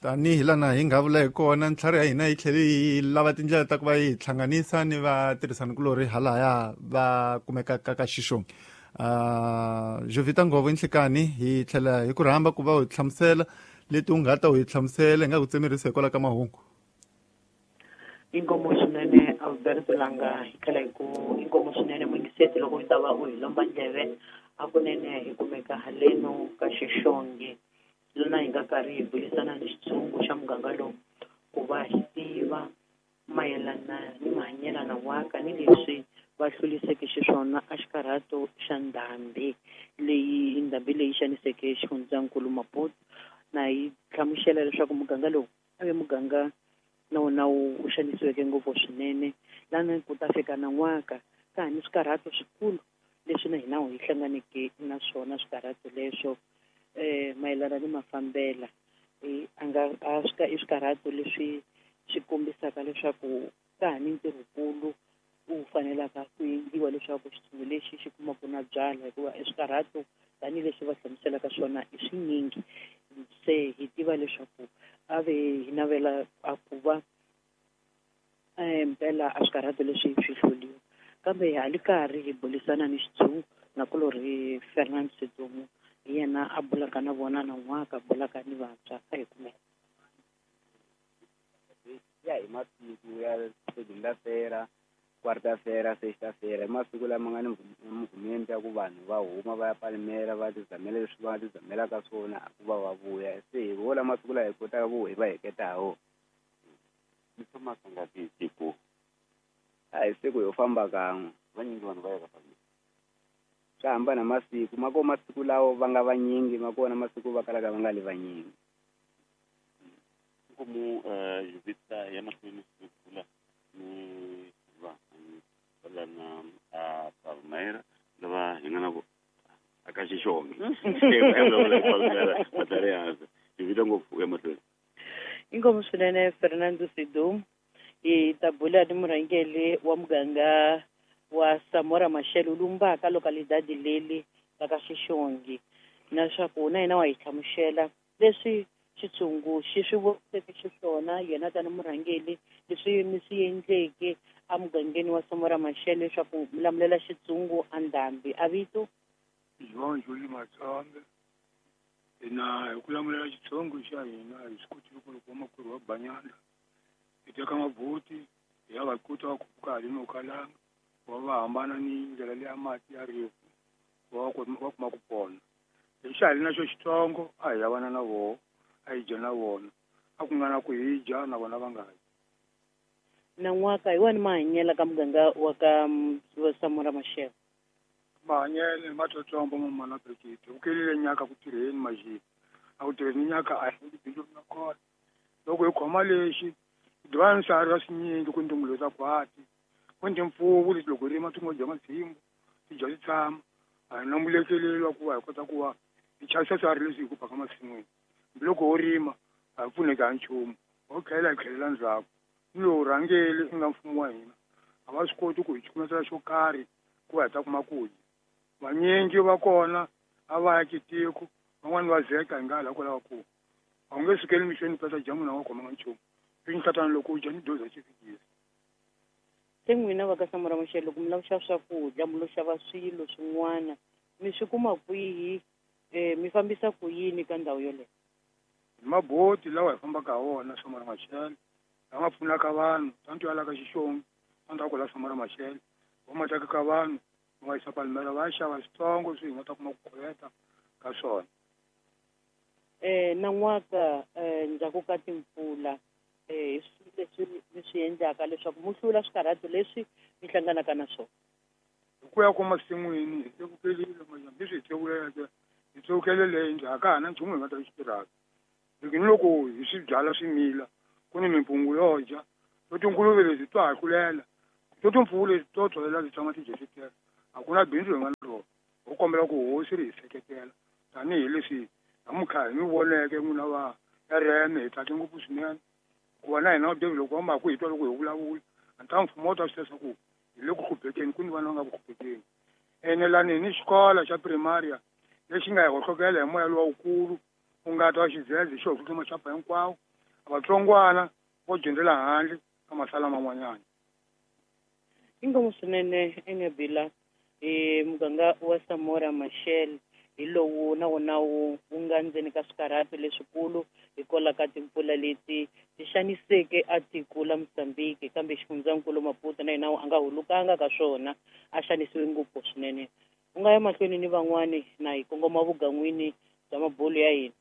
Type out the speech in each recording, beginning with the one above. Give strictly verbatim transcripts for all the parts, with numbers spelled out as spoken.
Tanihi lana hi nga vula hi kona ntlhari ya hina yi tlhele yi lava tindlela ta ku va yi hi hlanganisa ni vatirhisanikulorhi halaya va kumekaka ka Xixongi. Uh, Jovita Ngovo Nhlikani hi tlhela hi ku rhamba ku va u hi hlamusela leti u nga ta u hi hlamusela hi nga ku tsemerisa hikwalaho ka mahungu. Inkomo swinene Alberto Langa hi tlhela hi ku inkomo swinene muyingiseti loko u ta va u hi lomba ndleve hakunene hi kumeka haleno ka Xixongi lona hi nga karhi hi burisana ni xitshungu xa muganga lowu ku va hi tiva mayelana ni mahanyelana waka ni leswi va hluliseke xiswona a xikarhato xa ndhambi leyi ndhambi leyi xaniseke xifundzankulu Maputo na yi hlamusela leswaku muganga lowu a ve muganga na wona wu xanisiweke ngopfu swinene lana ku ta fika nan'waka ka ha ni swikarhato swikulu leswi na hina hi hlanganeke na swona swikarhato leswo eh mayelana ni mafambela eh a nga a swika i swikarhato leswi swi kombisaka leswaku ka ha ni ntirhokulu wu fanelaka ku endliwa leswaku xitshungu lexi xi kumaka na byala hikuva i swikarhato tanihileswi va hlamuselaka swona i swinyingi se hi tiva leswaku a ve hi navela a ku va mpela a swikarhato leswi swi hluriwa kambe ha li karhi hi burisana ni xitshungu nakulorhi Fernand Sedumo hi yena a bulaka na vona nan'waka bulaka ni vantshwa a hi kumela ya hi masiku ya segunda-feira quarta-feira sexta-feira i masiku lama nga ni movement ya ku vanhu va huma va ya Palmera va tizamela leswi va tizamelaka swona ku va va vuya se hi wo la masiku laha hi kotaka ku hi va heketa ha wona. Mi famba kangaki hi siku? A hi siku yo famba kan'we. Vanyingi vanhu va ya ka Palmera. Swa hambana masiku ma kona masiku lawa va nga vanyingi ma kona masiku va kalaka va nga li vanyingi. Nkomu Jovita ya mahlweni ku bula ni vanhu lana a Palmera lava hi nga na aka Xixongi. Jovita ngopfu ya mahlweni. Inkomu swinene Fernando Sidum hi ta bula ni murhangeri wa muganga wa Samora Machel Lumbaka localidade leli la ka Xixongi naswaku na yena wa hi hlamusela leswi xitshungu xi swi voniseke xiswona yena tani murhangeri leswi mi swi endleke emugangeni wa Samora Machel leswaku mi lamulela xitshungu a ndhambi a vito João Júlio Matsonga hina hi ku lamulela xitshungu xa hina hi swi kotile ku loko vamakwerhu va banyana hi teka mabuti hi ya va kuta va khuphuka haleni Kalanga va va hambana ni ndlela leya mati ya rifu va va kuma ku pona lexi ha ri na xo xitsongo a hi yavana na voho a hi dya na vona a ku nga na ku hi dya na vona va nga dyi. Nan'waka hi wani mahanyelo ka muganga wa ka Samora Machel? Mahanyelo ma tsotsombo ma mana brekete u kelile nyaka ku tirheni majini a ku tirheni nyaka a hi bindzu na kona loko hi khoma lexi divana swiharhi swa swinyingi ku ndungulo ta khwati ku ndi mpfuvu leti loko rima ti ngo dya madzimbu ti dya ti tshama a hi na mulekeleli wa ku va hi kota ku va hi chavisa swiharhi leswi hi ku baka masin'wini hambiloko ho rima a hi pfuneki ha nchumu ho tlhela hi tlhelela ndzhaku ni lowu rhangeli i nga mfumo wa hina a va swi koti ku hi cukumetela xo karhi ku va hi ta kuma ku dya vanyingi va kona a va ya kitiko van'wani va zeka hi nga hala kwalaho ku a wu nge sukeli mixweni pesa dyambu na nga khomanga nchumu swi loko u dya ni doza xi fikile. Se n'wina va ka Samora Machel loko mi lava ku xava swakudya mi lo xava swilo swin'wana mi swi kuma kwihi um mi fambisa ku yini ka ndhawu yoleyo? Hi maboti lawa hi fambaka ha wona Samora Machel lama pfunaka vanhu tanto ya la ka Xixongi tanto ya kwala Samora Machel va ma tekaka vanhu va yisa Palmera va ya xava switsongo leswi hi nga ta kuma ku kholeta ka swona. Eh nan'waka um ndzhaku ka timpfula eh leswi mi swi endlaka leswaku mi hlula swikarhato leswi mi hlanganaka na swona? Hi ku ya ku masin'wini hi tsevukelile majambu leswi hi tsevuleke hi tsevukele leyi ndzhaku ka ha na nchumu hi nga ta xi tirhaka loko ni loko hi swi byala swimila ku ni mimpungu yo dya to tinguluve leti to hakulela to timpfuvu leti to tsholela ti tshama ti dya ti tele a ku na bindzu hi nga na rona ho kombela ku hosi ri hi seketela tanihileswi namuntlha hi mi voneke n'wina va R M hi tsake ngopfu swinene hikuva na hina David loko va ma ku hi twa loko hi vulavula a ni ta mfumo wu ta swi tiva ku hi le ku hluphekeni ku ni vana va nga ku hluphekeni ene lani hi ni xikolo xa primaria lexi nga hi hohlokela hi moya luwa wukulu ku nga ta wa xidzedze xi hohloke maxapa hinkwawo Vatsongwana vo dyondzela handle ka masala man'wanyana. Inkomu swinene Engebila e muganga wa Samora Machel hi lowu na wona wu wu nga ndzeni ka swikarhato leswikulu hikwalaho ka timpfula leti ti xaniseke a tiko la Mozambique, kambe xifundzankulu Maputo na yena a nga hulukanga ka swona, a xanisiwe ngopfu swinene. U nga ya mahlweni ni van'wani na hi kongoma vugan'wini bya mabulu ya hina.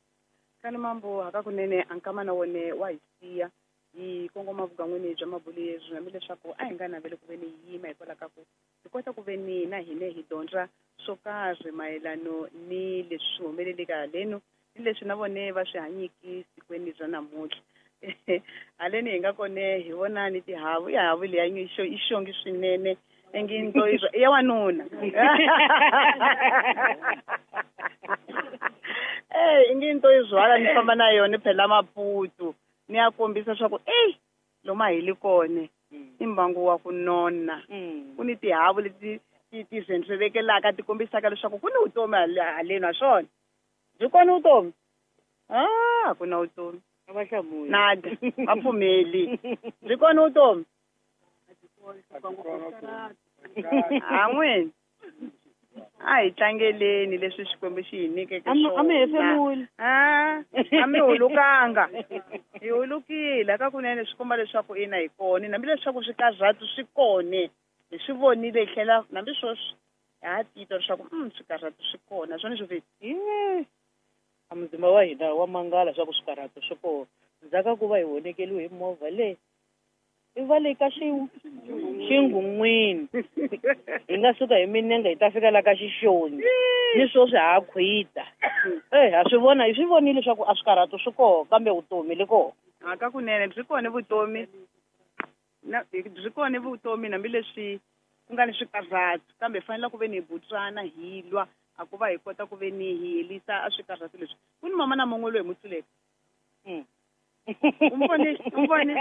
Kani mambo hakakunene a nkama na wone wa hi siya hi kongoma vugan'wini bya mabulu yezwi, hambileswaku a hi nga naveli ku ve ni yima hikwalaho ka ku hi kota ku ve ni na hina hi dyondza swo karhi mayelano ni leswi swi humeleleke haleno ni leswi na vone va swi hanyiki sikweni bya namuntlha. Haleni hi nga kone hi vona ni tihavu, i havu leya i xongi swinene ingi nto i ya wanuna. Eh, ingi nto i zwala ni famba na yona phela Maputo ni ya kombisa swa ku ey loma hi li kone i mbangu wa ku nona. Ku ni tihavu leti ti ti zendzelekelaka ti kombisaka leswaku ku ni vutomi haleni naswona byi kona vutomi. Ah, ku na vutomi. A va hlamuli. Nada, va pfumeli. Byi kona vutomi? A n'wini a hi tlangeleni leswi Xikwembu xi hi nyikeke swona. A mi hefemuli. A a mi hulukanga. Hi hulukile hakakunene swi komba leswaku ina hi kona, hambileswaku swikarhato swi kona. Hi swi vonile hi tlhela hambi sweswi ha titwa leswaku mm swikarhato swi kona swona swo vita. A muzimba wa hina wa mangala swa ku swikarhato swi kona. Ndzhaku ku va hi honekeliwe hi movha le i va le ka xinghun'wini hi nga suka hi minenge hi ta fika la ka Xixoni ni sweswi ha khwita. Eh, ha swi vona, hi swi vonile leswaku a swikarhato swi kona kambe vutomi li kona. Hakakunene byi kona vutomi na byi kona vutomi hambileswi ku nga ni swikarhato, kambe hi fanele ku ve ni hi butswana hi lwa a ku va hi kota ku ve ni hi helisa a swikarhato leswi. Ku ni mama na mun'we loyi hi mu tluleke. Mm. Umbone, umbone.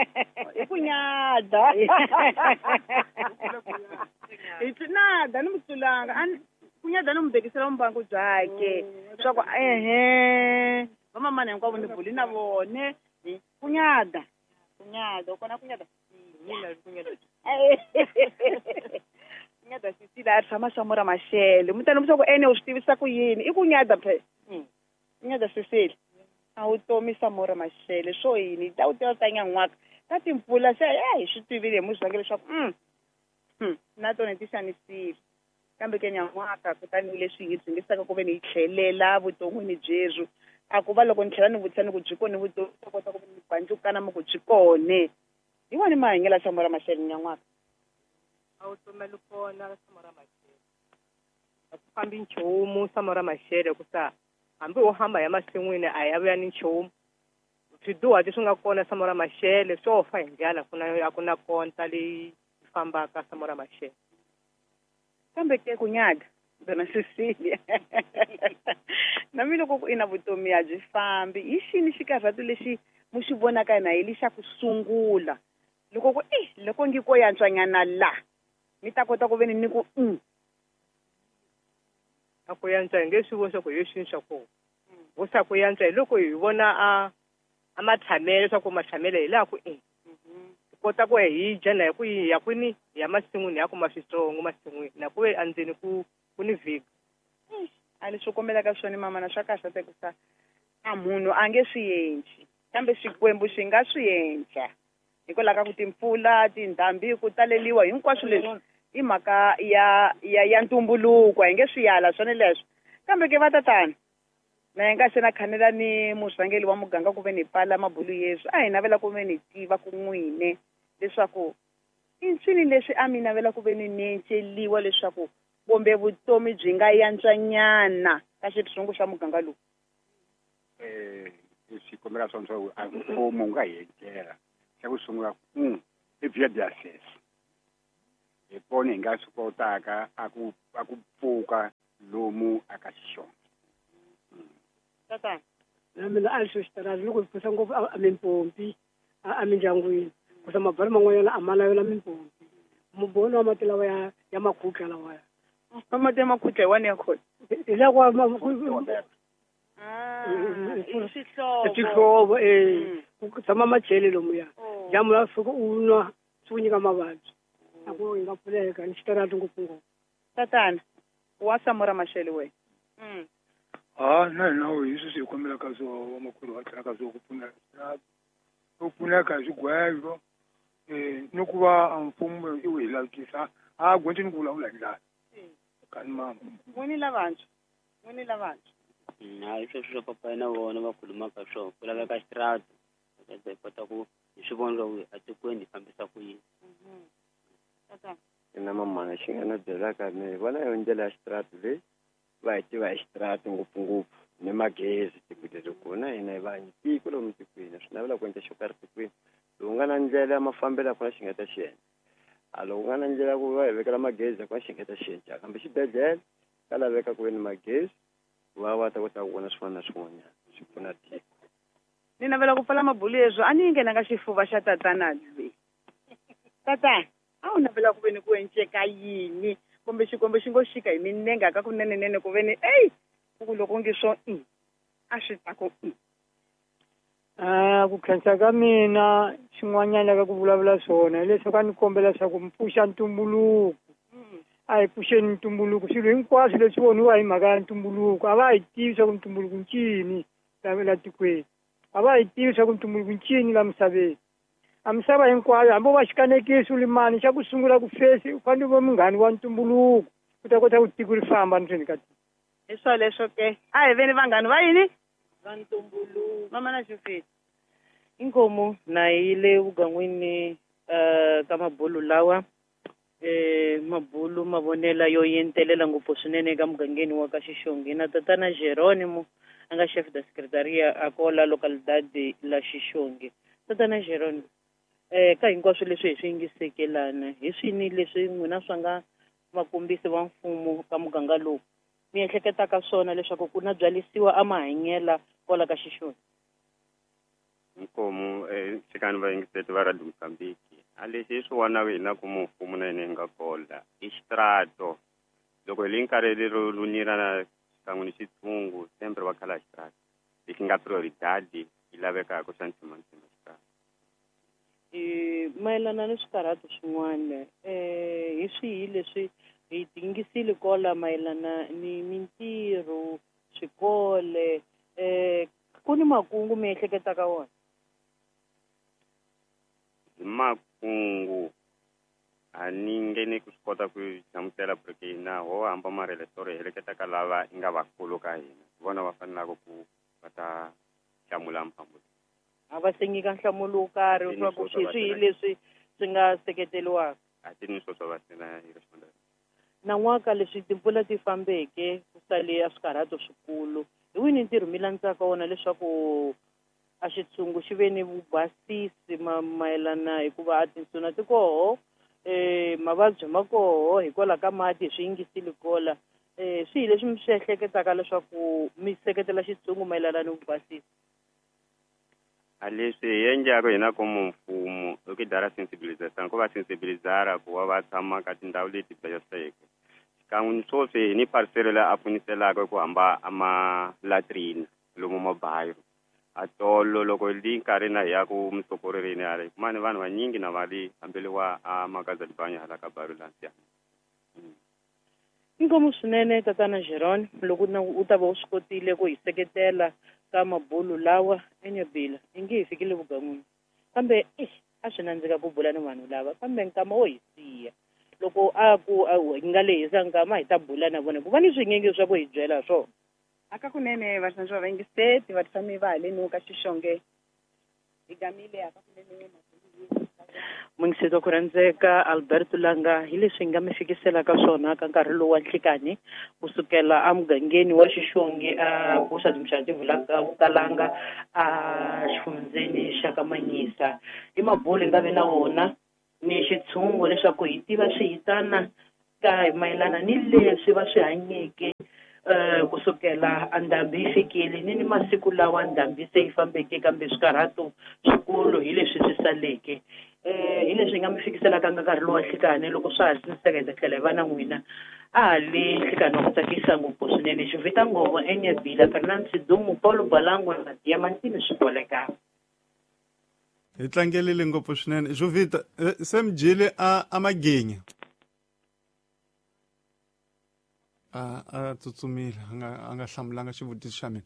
I ku nyada. Hi nada ni mutlulanga. An ku nyada ni mu bekisela mbangu byakhe. Swa ku ehe, vamamana hinkwavo ni buli na vone. Ku nyada. Ku nyada, u kona ku nyada. Ku nyada Cecilia a tshama Samora Machel. Mutani mi swa ku ene u swi tivisa ku yini? I ku nyada phela. Ku nyada Cecilia. A wu tomi Samora Machel swo yini ta wu tiva ta nyan'waka ta timpfula se eh hi swi tivile hi muzange leswaku mm na tona ti xanisile, kambe ke nyan'waka kutani leswi hi dzingisaka ku ve ni hi tlhelela vuton'wini byebyo a ku va loko ni tlhela ni vutisa ni ku byi kona vutomi ta kota ku ve ni bandzukana mi ku byi kone hi wona mahanyelo ya Samora Machel nyan'waka. A wu tomeli kona Samora Machel, a ku fambi nchumu Samora Machel ku sa hambi wo hamba ya masin'wini a ya vuya ni nchumu. Swiduhati swi nga kona Samora Machel swo fa hi ndlala, ku na a ku na konta leyi fambaka Samora Machel. Kambe ke ku nyada dona Cecilia na mina loko ku ina vutomi a byi fambi hi xini xikarhato lexi mu xi vonaka na hi lexa ku sungula loko ku eh loko ngi ko yantswanyana la mi ta kota ku ve ni ni ku mm a ku yantswa hi nge swi voni swa ku hi xini xa kona vo sa ku yantswa hi loko hi vona a a matshamele swa ku matshamele hi laha ku i hi kota ku hi dya na hi ku hi ya kwini hi ya masin'wini hi ya kuma switsongo masin'wini na ku ve endzeni ku ku ni vhiki. A leswi kombelaka swona mama na swa kahle te ku sa a munhu a nge swi endli kambe Xikwembu xi nga swi endla hikwalaho ka ku timpfula tindhambi ku taleliwa hinkwaswo leswi i mhaka ya ya ya ntumbuluko hi nge swi yala swona leswo. Kambe ke va tatana na hi nga se na khanela ni murhangeri wa muganga ku ve ni pfala mabulu yeswi a hi navela ku ve ni tiva ku n'wine leswaku i ncini leswi a mi navela ku ve ni nenceliwa leswaku kumbe vutomi byi nga yantswanyana ka xitshungu xa muganga lowu. Eh, leswi kombela swona swa ku a mfumo wu nga hi endlela xa ku sungula ku i via de access hi kona hi nga swi kotaka a ku a ku pfuka lomu a ka xixona. Tatana na mina a swi xitarati loko hi pfusa ngopfu a mimpompi a mindyangwini kusa mabari man'wanyana a ma lavela mimpompi mubono wa mati lawa ya ya makhutla lawaya mati ya makhutla hi wani ya kona hi lawa swihlovo swihlovo eh Ku tshama machele lomuya. Dyambu ra fika u nwa swi ku nyika mavabyi. A ku yi nga pfuneka ni xitarata ngopfungopfu. Tatana, wa Samora Machel we. Mm. Ha na hina hi sweswi hi kombelaka swo vamakwerhu va tlhelaka swo ku pfuneka ku pfuneka hi swigwevo um ni ku va mfumo i wu hi lavikisa a gondzi ni ku vulavula hi ndlala kani mama. N'wini lavantshwa, n'wini lavantshwa. Hayi sweswo swa papa na vona va khulumaka swona ku laveka xitarata hi kota ku hi swi vona ku etikweni hi fambisa ku yini. Tatana. Ina mamana xi nga na byelaka ni vona yo ndlela ya xitarata leyi va hi tiva hi xitarata ngopfungopfu ni magezi tiko leri kona hina hi va tiko lomu tikweni swi navela ku endla xo karhi tikweni lowu nga na ndlela ya mafambelo a ku na xi nga ta xi endla a loko nga na ndlela ku va hi vekela magezi a ku na xi nga ta xi endla kambe xibedhlele ka laveka ku ve ni magezi va va ta kota ku vona swin'wana na swin'wanyana swi pfuna tiko. Ni navela ku pfala mabulu yeswo a ni yi nghenanga xifuva xa tatana lweyi. Tatana, a wu navela ku ve ni ku enceka yini kumbe xikwembu xi ngo xika hi minenga ka kunenenene ku ve ni eyi ku loko nge swo i a swi ta ku i. Ah, ku khensa ka mina xin'wanyana ka ku vulavula swona hileswaku a ni kombela leswaku mi pfuxa ntumbuluko. A hi pfuxeni ntumbuluko swilo hinkwaswo leswi voniwa hi mhaka ya ntumbuluko a va hi tivi swa ku ntumbuluko ncini la la tikweni a va hi tivi swa ku ntumbuluko ncini la misaveni a misava hinkwayo hambi wo va xikanekisi u limani xa ku sungula ku fesi u fanele u va munghani wa ntumbuluko u ta kota ku tiko ri famba ndzeni ka tiko. Hi swoleswo ke a hi veni vanghani va yini va ntumbuluko. Mama na Xifisi. Inkomu na yile vugan'wini uh, ka mabulu lawa eh mabulu mavonela yo yentelela ngopfu swinene eka mugangeni wa ka Xixongi na tatana Geronimo a nga chef de secretaria a kola localidade la Xixongi. Tatana Geronimo, eh ka hinkwaswo leswi hi swi yingisekelana hi swini leswi n'wina swa nga vakombisi va mfumo ka muganga lowu mi ehleketaka swona leswaku ku na byalisiwa a mahanyela kwala ka Xixongi? Nkomu eh xikani va yingiseti va Radio Mozambique a lexi hi swi vonaka hina ku mfumo na yena hi nga kola i xitrato loko hi le nkarhi lero lunira na xikan'we ni xitshungu sempre va khala xitrato lexi nga prioridade yi lavekaka xa ntshimantsima xitrato. Eh mayelana ni swikarhato swin'wana eh hi swihi leswi hi tingisile kola mayelana ni mintirho swikole eh ku ni makungu mi ehleketaka wona? Hi makungu a ni nge ni ku swi kota ku hlamusela porque hina ho hamba marelesoro hi heleketaka lava i nga vakulu ka hina hi vona va fanelaka ku va ta hlamula mphambulo. A va se nyika nhlamulo wo karhi leswaku swi swihi leswi swi nga seketeriwaka? A ti ni swo swa va sena hi rixonda. Nan'waka leswi timpfula ti fambeke ku sale a swikarhato swikulu hi wini ntirho mi landzaka wona leswaku a xitshungu xi ve ni vubasisi ma mayelana hikuva a tinsuna ti koho eh mavabyi ma koho hikwalaho ka mati hi swi yingisile kola eh swihi leswi mi swi ehleketaka leswaku mi seketela xitshungu mayelana ni vubasisi? A leswi hi endlaka hina ku mfumo i ku dara sensibilization ku va sensibilizara ku va va tshama ka tindhawu leti baseke xikan'we ni swoswi hi ni parisero leyi a pfuniselaka ku hamba a ma-latrine lomu mabayiro a tolo loko li nkarhi na hi ya ku misokorerini yale kumani vanhu vanyingi na va li hambeliwa a makazalibanya hala ka bayiro lansiya. Inkomu swinene tatana Geron loko u ta va u swi kotile ku hi seketela ka mabulu lawa enyobila inge hi fikile vugan'wini kambe eh a swi nandzika ku bula ni vanhu lava kambe nkama wo hi siya loko a ku hi nga lehisa nkama hi ta bula na vona ku va ni swinyingi swa ku hi byela swona. Aka kunene vaxantswa va yingiseti va tshami va haleni ka Xixonge hi gamile aka kunene Mungiseti wa ku rhandzeka Alberto Langa hi leswi hi nga mi fikiselaka swona ka nkarhi lowu wa nhlikani kusukela emugangeni wa Xixongi a Bushadimxadi Vukalanga a xifundzeni xa ka Manyisa. I mabulu hi nga vi na wona ni xitshungu leswaku hi tiva swihitana ka mayelana ni leswi va swi hanyeke eh kusukela andhambi yi fikile ni ni masiku lawa ndhambi se yi fambeke kambe swikarhato swikulu hi leswi swi saleke. Eh hi leswi hi nga mi fikiselaka ka nkarhi lowu wa nhlikani loko swa ha siniseka hi ta tlhela hi va na n'wina a ha le nhlikani wa ku tsakisa ngopfu swinene Xivita Ngovo Enyabila Fernand Sidumu Paulo Balango na Diamantini Swiboleka. Hi tlangelile ngopfu swinene Jovita. Se mi dyile a a magenya a a tsutsumile a nga a nga hlamulanga xivutiso xa mina.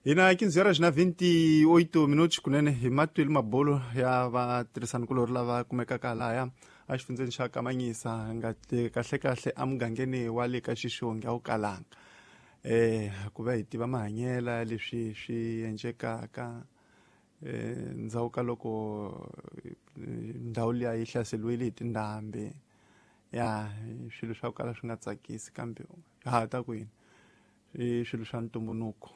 Hina quinze horas na vinte e oito minutos kunene hi matwile mabolo ya vatirhisanikulori lava kumekaka lahaya a xifundzeni xa Kamanyisa nga kahle kahle emugangeni wa le ka Xixongi a wu kalanga eh ku va hi tiva mahanyela leswi swi endlekaka eh ndzhaku ka loko ndhawu liya yi hlaseriwile hi tindhambi ya swilo swa ku kala swi nga tsakisi kambe ha ta ku yini i swilo swa ntumbuluko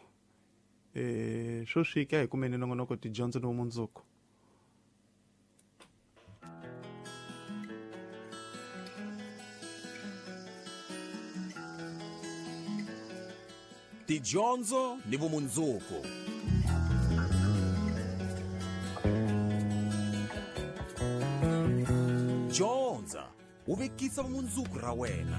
eh swo swika hi kumeni nongonoko tidyondzo ni vumundzuku. Tidyondzo ni vumundzuku. Dyondza u vekisa vumundzuku ra wena.